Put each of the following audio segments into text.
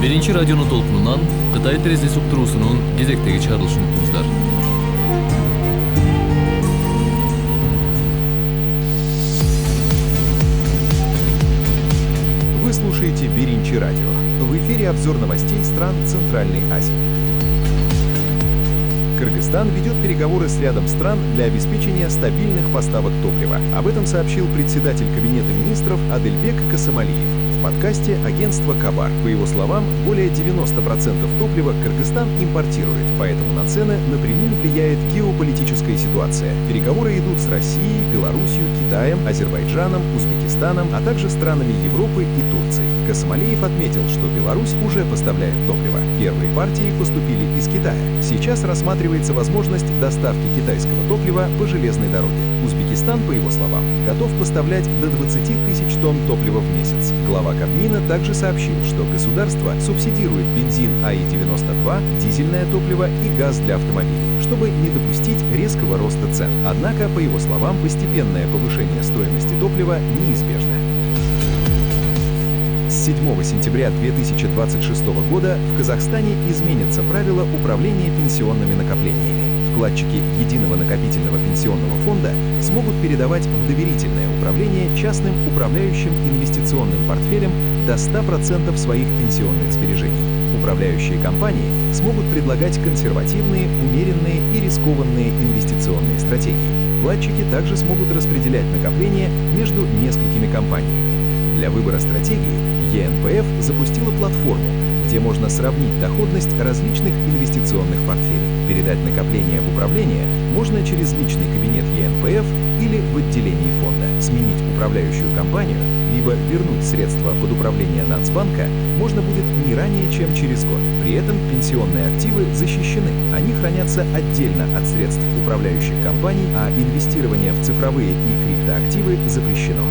Биринчи радионун толкунунан Кытай терезеси уктуруусунун кезектеги чыгарылышын уктуңуздар. Вы слушаете Биринчи радио. В эфире обзор новостей стран Центральной Азии. Кыргызстан ведет переговоры с рядом стран для обеспечения стабильных поставок топлива. Об этом сообщил председатель Кабинета министров Адельбек Касымалиев в подкасте агентства «Кабар». По его словам, более 90% топлива Кыргызстан импортирует, поэтому на цены напрямую влияет геополитическая ситуация. Переговоры идут с Россией, Белоруссией, Китаем, Азербайджаном, Узбекистаном, а также странами Европы и Турции. Касымалиев отметил, что Беларусь уже поставляет топливо. Первые партии поступили из Китая. Сейчас рассматривается возможность доставки китайского топлива по железной дороге. Узбекистан, по его словам, готов поставлять до 20 тысяч тонн топлива в месяц. Глава Кабмина также сообщил, что государство субсидирует бензин АИ-92, дизельное топливо и газ для автомобилей, чтобы не допустить резкого роста цен. Однако, по его словам, постепенное повышение стоимости топлива неизбежно. С 7 сентября 2026 года в Казахстане изменятся правила управления пенсионными накоплениями. Вкладчики Единого накопительного пенсионного фонда смогут передавать в доверительное управление частным управляющим инвестиционным портфелем до 100% своих пенсионных сбережений. Управляющие компании смогут предлагать консервативные, умеренные и рискованные инвестиционные стратегии. Вкладчики также смогут распределять накопления между несколькими компаниями. Для выбора стратегии ЕНПФ запустила платформу, где можно сравнить доходность различных инвестиционных портфелей. Передать накопления в управление можно через личный кабинет ЕНПФ или в отделении фонда. Сменить управляющую компанию, либо вернуть средства под управление Нацбанка можно будет не ранее, чем через год. При этом пенсионные активы защищены. Они хранятся отдельно от средств управляющих компаний, а инвестирование в цифровые и криптоактивы запрещено.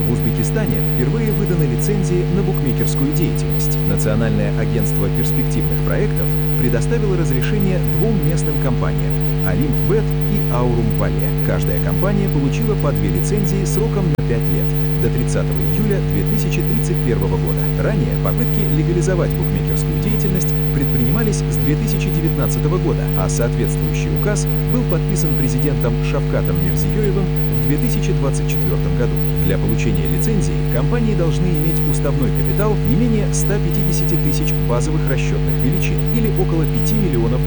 В Узбекистане впервые выданы лицензии на букмекерскую деятельность. Национальное агентство перспективных проектов предоставило разрешение двум местным компаниям – Олимпбет и Аурум Вале. Каждая компания получила по 2 лицензии сроком на 5 лет, до 30 июля 2031 года. Ранее попытки легализовать букмекерскую деятельность предпринимались с 2019 года, а соответствующий указ был подписан президентом Шавкатом Мирзиёевым в 2024 году. Для получения лицензии компании должны иметь уставной капитал не менее 150 тысяч базовых расчетных величин или около $5 миллионов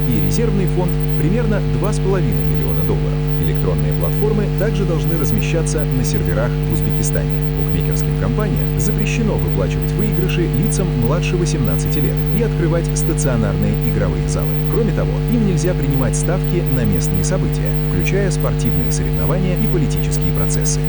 и резервный фонд примерно $2,5 миллиона. Электронные платформы также должны размещаться на серверах в Узбекистане. Букмекерским компаниям запрещено выплачивать выигрыши лицам младше 18 лет и открывать стационарные игровые залы. Кроме того, им нельзя принимать ставки на местные события, включая спортивные соревнования и политические процессы.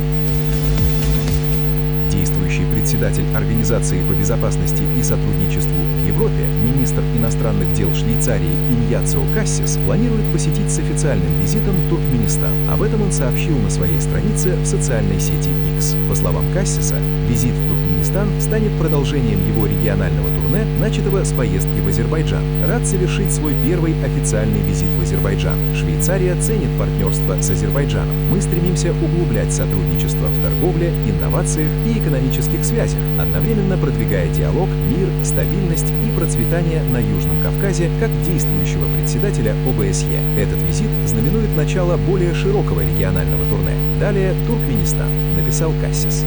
Действующий председатель Организации по безопасности и сотрудничеству в Европе, министр иностранных дел Швейцарии Иньяцио Кассис, планирует посетить с официальным визитом Туркменистан. Об этом он сообщил на своей странице в социальной сети X. По словам Кассиса, визит в Туркменистан станет продолжением его регионального турне, начатого с поездки в Азербайджан. Рад совершить свой первый официальный визит в Азербайджан. Швейцария ценит партнерство с Азербайджаном. Мы стремимся углублять сотрудничество в торговле, инновациях и экономических связях, одновременно продвигая диалог, мир, стабильность и процветание на Южном Кавказе как действующего председателя ОБСЕ. Этот визит знаменует начало более широкого регионального турне. Далее Туркменистан, написал Кассис.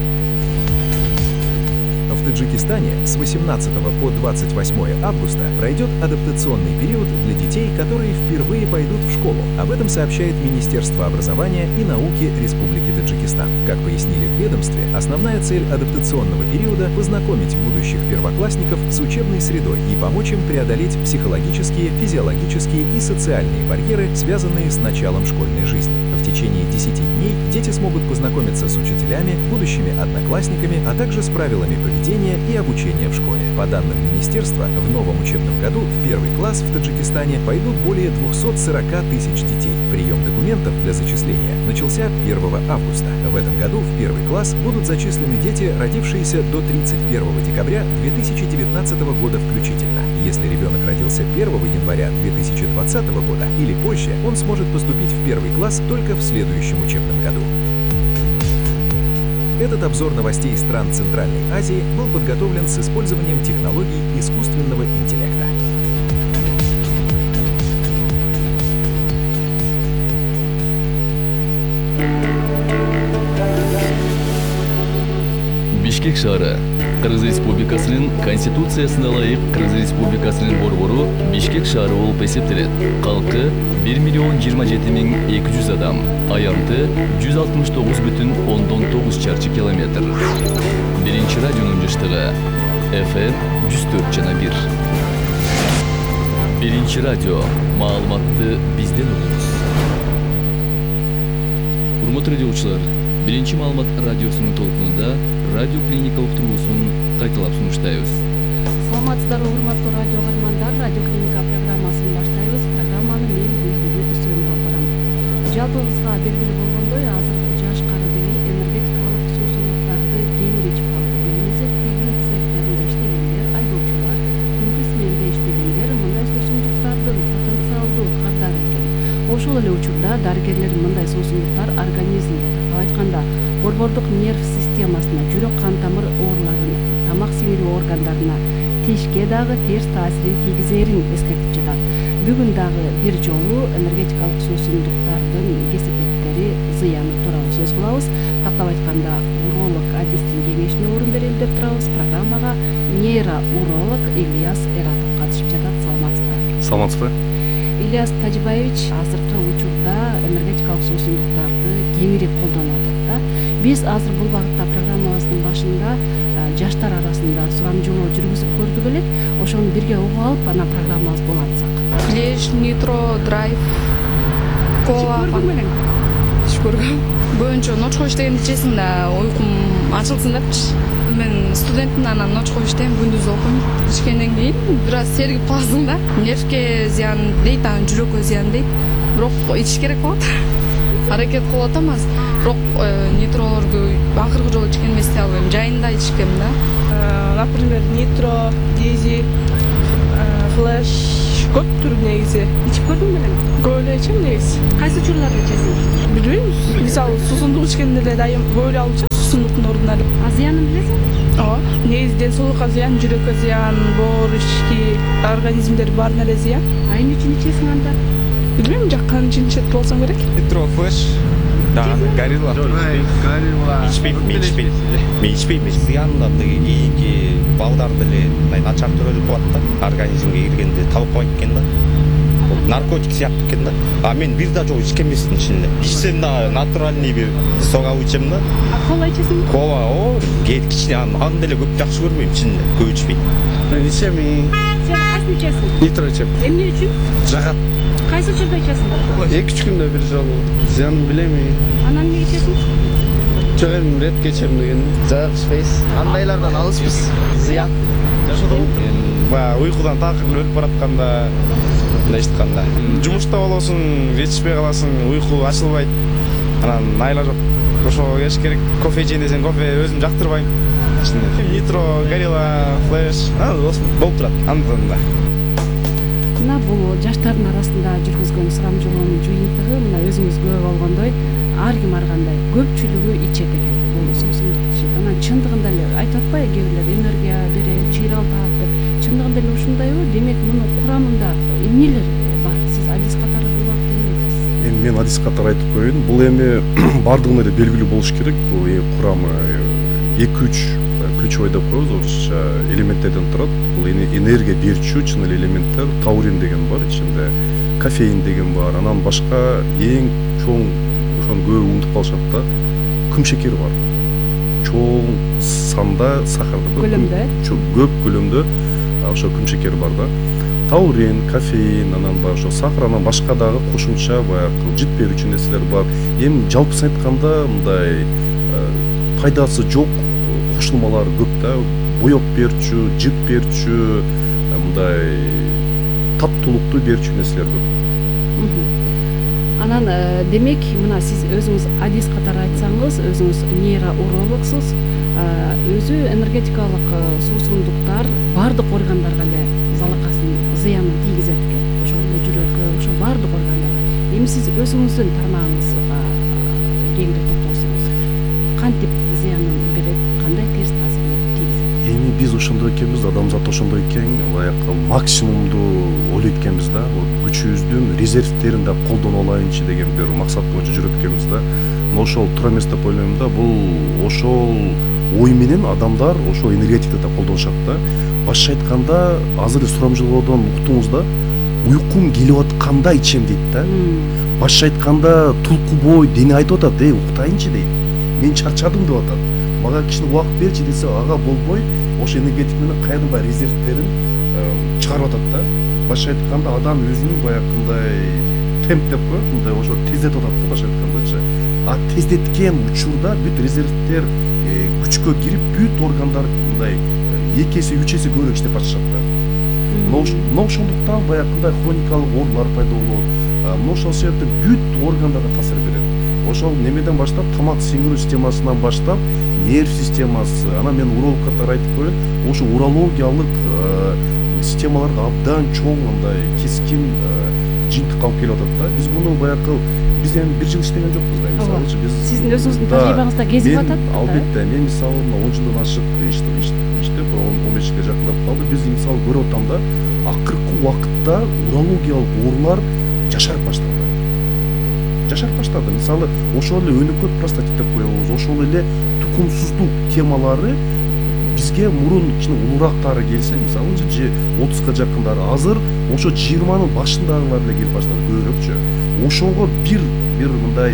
В Таджикистане с 18 по 28 августа пройдет адаптационный период для детей, которые впервые пойдут в школу. Об этом сообщает Министерство образования и науки Республики Таджикистан. Как пояснили в ведомстве, основная цель адаптационного периода – познакомить будущих первоклассников с учебной средой и помочь им преодолеть психологические, физиологические и социальные барьеры, связанные с началом школьной жизни. В течение 10 дней дети смогут познакомиться с учителями, будущими одноклассниками, а также с правилами поведения и обучения в школе. По данным министерства, в новом учебном году в первый класс в Таджикистане пойдут более 240 тысяч детей. Прием документов для зачисления начался 1 августа. В этом году в первый класс будут зачислены дети, родившиеся до 31 декабря 2019 года включительно. Если ребенок родился 1 января 2020 года или позже, он сможет поступить в первый класс только в следующем учебном году. Этот обзор новостей стран Центральной Азии был подготовлен с использованием технологий искусственного интеллекта. Бишкек шаары Кыргыз Республикасынын Конституциясына ылайык Кыргыз Республикасынын борбору Бишкек шаары болуп эсептелет. Калкы 1,027,200 адам, аянты 169,9 чарчы километр. Биринчи радионун жыштыгы FM 104,1. Биринчи радио, маалыматты бизден угуңуз. Урматтуу радиочулар, Биринчи маалымат радиосунун толкунунда радио клиника уктуруусун кайталап сунуштайбыз. Саламатсыздарбы, урматтуу радио каармандар, радио клиника программасын баштайбыз. Программаны мен Гүлбүлү Үсөнов алып барам. Жалпыбызга белгилүү болгондой, азыр жаш карыбери энергетикалык суусундуктарды кеңири ичип калды. Немесе тиги цехтеринде иштегендер, айдоочулар, түнкү сменде иштегендер мындай суусундуктардын потенциалдуу кардары экен. Ошол эле учурда дарыгерлер мындай суусундуктар организмге, айтканда борбордук нерв системасына, жүрөк кан тамыр ооруларын, тамак сиңирүү органдарына, тишке дагы терс таасирин тийгизерин эскертип жатат. Бүгүн дагы бир жолу энергетикалык суусундуктардын кесепеттери, зыяны тууралуу сөз кылабыз. Тактап айтканда, уролог Адистин кеңешине орун берели деп турабыз. Программага нейроуролог Ильяс Эратов катышып жатат. Саламатсызбы? Саламатсызбы. Ильяс Тажибаевич азыркы учурда энергетикалык суусундуктарды кеңири колдонуп атат да. Биз азыр бул багытта программабыздын башында жаштар арасында сурамжылоо жүргүзүп көрдүк элек. Ошону бирге угуп алып, анан программабызды улантсак. Флеш, нитро, драйв, кола. Ич көргөм. Бөөнчө ночко иштегенди ичесиң да уйкум ачылсын депчи. Мен студентмин, анан ночко иштейм, күндүз окуйм. Ичкенден кийин бир аз сергип каласың да. Нервке зыян дейт, анан жүрөккө зыян дейт. Бирок ичиш керек болот. Аракет кылып атам азыр. Бирок нитролорду акыркы жолу ичкен эмес дей албайм. Жайында ичкем да. Например, нитро, дизи, флеш көп түр негизи. Ичип көрдүңбү белең? Көп эле ичем негизи. Кайсы учурларда ичесиң? Билбейм. Мисалы суусундук ичкенде эле дайым көп эле алып ичем. Суусундуктун ордуна эле. А зыянын билесиң? Ооба. Негизи ден соолукка зыян, жүрөккө зыян, боор, ички организмдер баарына эле зыян. А эмне үчүн ичесиң анда? Билбейм, жаккан үчүн ичет болсом керек. Нитро, флеш, дагы горилла. Ичпейм. Мен ичпейм. Зыяндан кийинки балдар деле начар төрөлүп калат да. Организмге киргенде табылбайт экен да. Наркотик сыяктуу экен да. А мен бир да жолу ичкен эмесмин ичинде. Ичсем да натуральный бир согап ичем да. А кола ичесиңби? Кола, кичине аны деле көп жакшы көрбөйм ичинде. Көп ичпейм. Мен ичем. Сен кайсыны ичесиң? Нитро ичем. Эмне үчүн? Жагат. Кайсы учурда ичесиң? 2-3 күндө бир жолу. Зыянын билем. Анан эмне ичесиң? Жок, эми ретке ичем деген. Жагат ичпейбиз. Андайлардан алыспыз. Зыян. Баягы уйкудан такыр өлүп баратканда, мындай айтканда, жумушта болосуң, жетишпей каласың, уйку ачылбайт. Анан айла жок. Ошого кеш керек. Кофе ичейин десең, кофе өзүм жактырбайм. Нитро, горилла, флеш, болуп турат. Андан да. Мына бул жаштардын арасында жүргүзгөн сурамжылоонун жыйынтыгы, мына өзүңүз күбө болгондой, ар ким ар кандай көпчүлүгү ичет экен бул суусундук ичет. Анан чындыгында эле айтып атпайбы, кээ бирлер энергия берет, чыйралтат деп. Чындыгында эле ушундайбы? Демек мунун курамында эмнелер бар? Сиз адис катары бул убакта эмне айтасыз? Эми мен адис катары айтып коеюн. Бул эми бардыгына эле белгилүү болуш керек. Бул курамы 2-3 ключевой деп коебуз, орусча элементтерден турат. Бул энергия берүүчү чын эле элементтер, таурин деген бар ичинде, кофеин деген бар. Анан башка эң чоң ошону көбү унутуп калышат да, күм шекери бар. Чоң санда сахарда Көлөмдө. Көп көлөмдө ошо күм шекери бар да. Таурин, кофеин, анан баягы ошо сахар, анан башка дагы кошумча баягы жит берүүчү нерселер бар. Эми жалпысын айтканда мындай пайдасы жок кошулмалар көп да. Боек берүүчү, жит берүүчү, мындай таттуулукту берүүчү нерселер көп. Анан демек мына сиз өзүңүз адис катары айтсаңыз, өзүңүз нейроурологсуз, өзү энергетикалык суусундуктар бардык органдарга эле залакасын, зыянын тийгизет экен. Ошол эле жүрөккө, ошо бардык органдарга. Эми сиз өзүңүздүн тармагыңызга кеңири токтолсоңуз, кантип зыянын берет, кандай терс таасирин тийгизет? Эми биз ошондой экенбиз, адамзат ошондой экен, баягы максимумду ойлойт экенбиз да, күчүбүздүн резервтерин да колдоно алайынчы деген бир максат боюнча жүрөт экенбиз да. Но ошол туура эмес деп ойлойм да. Бул ошол ой менен адамдар ошол энергетикти да колдонушат да. Башкача айтканда, азыр сурамжылоодон уктуңуз да, уйкум келип атканда ичем дейт да. Башкача айтканда, тулку бой дене айтып атат, уктайынчы дейт. Мен чарчадым деп атат. Мага кичине убакыт берчи десе, ага болбой, ошо энергетик менен кайрадан баягы резервтерин чыгарып атат да. Башкача айтканда, адам өзүнүн баягындай темп деп коет, мындай ошо тездетип атат да, башкача айткандачы. А тездеткен учурда бүт резервтер күчкө кирип, бүт органдар мындай 2 эсе 3 эсе көбүрөөк иштеп башташат да. Но ошондуктан баягындай хроникалык оорулар пайда болот. Мына ошол себептен бүт органдарга таасир берет. Ошол немеден баштап, тамак сиңирүү системасынан баштап, нерв системасы, анан мен урологдор айтып коет, ошо урологиялык системаларга абдан чоң мындай кескин жыйынтык алып келип атат да. Биз муну баягы биз эми 1 жыл иштеген жокпуз да, мисалы биз сиздин өзүңүздүн тажрыйбаңызда кезип атат да. Албетте, мен мисалы 10 жылдан ашык иштеп 15 жылга жакындап калды. Биз мисалы көрүп атам да, акыркы убакытта урологиялык оорулар жашарып баштады. Мисалы, ошол эле өнөкөт простатит деп коебуз, ошол эле тукумсуздук темалары бизге мурун кичине улуурактары келсе, мисалы, 30га жакындары, азыр ошо 20нын башындагылар эле келип баштады көбүрөөкчө. Ошого бир мындай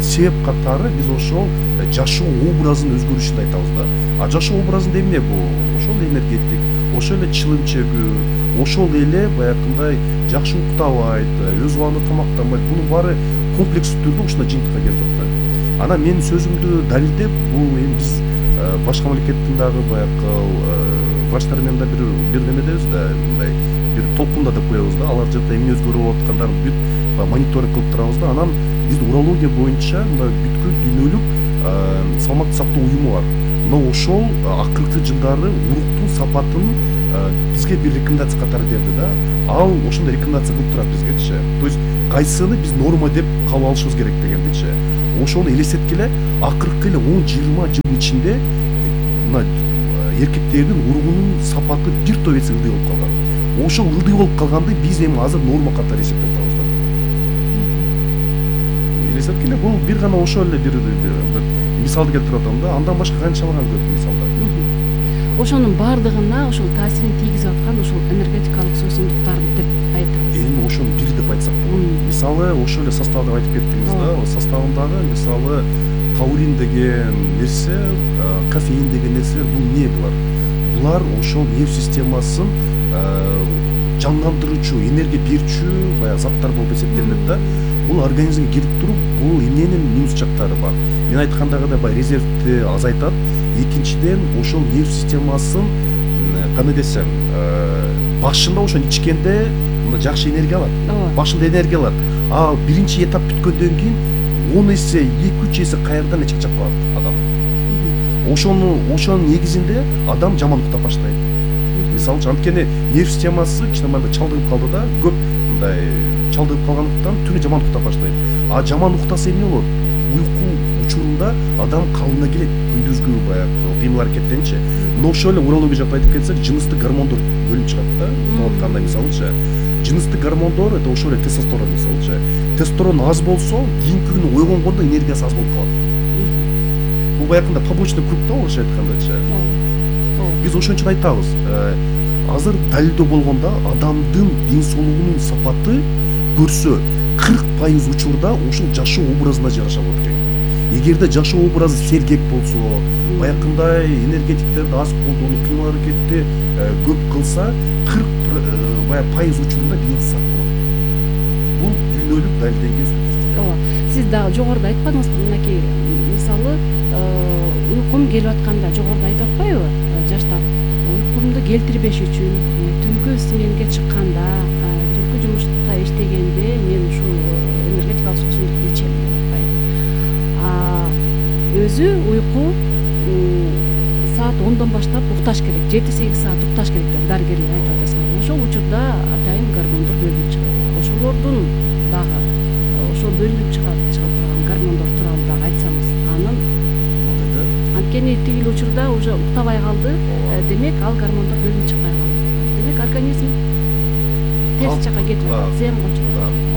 себеп катары биз ошол жашоо образынын өзгөрүшүн айтабыз да. А жашоо образында эмне бул? Ошол энергетик, ошол эле чылым чегүү, ошол эле баягындай жакшы уктабайт, өз убагында тамактанбайт. Бунун баары комплекстүү түрдө ушундай жыйынтыкка келтип да. Анан менин сөзүмдү далилдеп, бул эми биз башка мамлекеттин дагы баягы врачтар менен да бир немедебиз да, мындай бир толкунда деп коебуз да. Алар жакта эмне өзгөрүп аткандарын бүт мониторинг кылып турабыз да. Анан бизде урология боюнча мындай бүткүл дүйнөлүк саламаттык сактоо уюму бар. Но ошол акыркы жылдары уруктун сапатын бизге бир рекомендация катары берди да. Ал ошондой рекомендация кылып турат бизгечи. То есть кайсыны биз норма деп кабыл алышыбыз керек дегендичи. Ошону элестеткиле, акыркы эле 10-20 жыл ичинде мына эркектердин уругунун сапаты бир топ эсе ылдый болуп калган. Ошол ылдый болуп калганды биз эми азыр норма катары эсептеп атабыз да. Элестеткиле, бул бир гана ошол эле бир мисалды келтирип атам да. Андан башка канчалаган көп мисалдар. Ошонун баардыгына ошол таасирин тийгизип аткан ошол энергетикалык суусундуктар деп айтабыз. Эми ошонун бири деп айтсак болот. Мисалы, ошол эле состав деп айтып кеттиңиз да. Составындагы мисалы таурин деген нерсе, кофеин деген нерселер бул эмне булар? Булар ошол нерв системасын жандандыруучу, энергия берүүчү баягы заттар болуп эсептелинет да. Бул организмге кирип туруп, бул эмненин минус жактары бар. Мен айткандагыдай баягы резервти азайтат. Экинчиден, ошол нерв системасын кандай десем, башында ошону ичкенде мында жакшы энергия алат. Башында энергия алат. А биринчи этап бүткөндөн кийин 10 эсе, 2-3 эсе кайрадан чачап калат адам. Ошонун негизинде адам жаман уктап баштайт. Мисалы, анткени нерв системасы кичине мындай чалдыгып калды да, көп мындай чалдыгып калгандыктан түнү жаман уктап баштайт. А жаман уктаса эмне болот? Уйку учурунда адам калына келет, күндүзгү баягы кыймыл аракеттенчи. Но ошол эле урология жакта айтып кетсек, жыныстык гормондор бөлүнүп чыгат да. Уктап атканда мисалычы, жыныстык гормондор это ошол эле тестостерон мисалычы. Тестостерон аз болсо, кийинки күнү ойгонгондо энергиясы аз болуп калат. Бул баягында побочный круг да, орусча айткандачы. Биз ошон үчүн айтабыз, азыр далилдөө болгондо адамдын ден соолугунун сапаты көрсө 40% учурда ошол жашоо образына жараша болот экен. Эгерде жашоо образы сергек болсо, баягындай энергетиктерди аз колдонуп, кыймыл аракетти көп кылса, 40% учурунда денеси сак болот. Бул дүйнөлүк далилденген статистика. Сиз дагы жогоруда айтпадыңызбы, мынакей мисалы уйкум келип атканда жогоруда айтып атпайбы жаштар, уйкумду келтирбеш үчүн түнкү сменге чыкканда, түнкү жумушта иштегенде мен ушул энергетикалык суусундукту ичем деп атпайбы. Өзү уйку саат 10дон баштап укташ керек, 7-8 саат укташ керек деп дарыгерлер айтып атышат. Ошол учурда атайын гормондор бөлүнүп чыгат. Ошолордун дагы ошол бөлүнүп чыгып турган гормондор тууралуу дагы айтсаңыз, анткени тигил учурда уже уктабай калды, демек ал гормондор бөлүнүп чыкпай калды. Демек организм терс жакка кетип атат, зыянга учурап.